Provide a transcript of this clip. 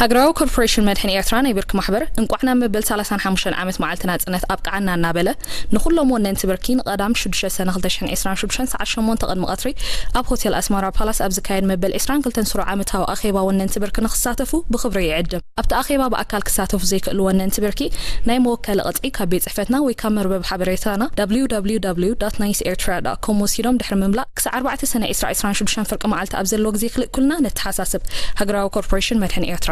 ሃገራዊ ኮርፖሬሽን መድሕን ኤርትራ ናይ ብርኪ ማሕበር እንቋዕ ናብ መበል ሰላሳን ሓሙሽተን ዓመት መዓልቲ ናጽነት ኣብቅዓና እናበለ፣ ንኹሎም ወነንቲ ብርኪ ንቐዳም ሽዱሽተ ሰነ ክልተ ሽሕን ዕስራን ሽዱሽተን ሰዓት ሸሞንተ ቅድሚ ቀትሪ ኣብ ሆቴል ኣስመራ ፓላስ ኣብ ዝካየድ መበል ዕስራን ክልተን ስሩዕ ዓመታዊ ኣኼባ ወነንቲ ብርኪ ንክሳተፉ ብኽብሪ ይዕድም። ኣብቲ ኣኼባ ብኣካል ክሳተፉ ዘይክእሉ ወነንቲ ብርኪ ናይ መወከሊ ቅጥዒ ካብ ቤት ጽሕፈትና ወይ ካብ መርበብ ሓበሬታና www.niceairtra.com ወሲዶም ድሕሪ ምምላእ ክሳዕ ኣርባዕተ ሰነ ዕስራ ዕስራን ሽዱሽተን ፍርቂ መዓልቲ ኣብ ዘለዎ ግዜ ክልእኩልና ነተሓሳስብ። ሃገራዊ ኮርፖሬሽን መድሕን ኤርትራ።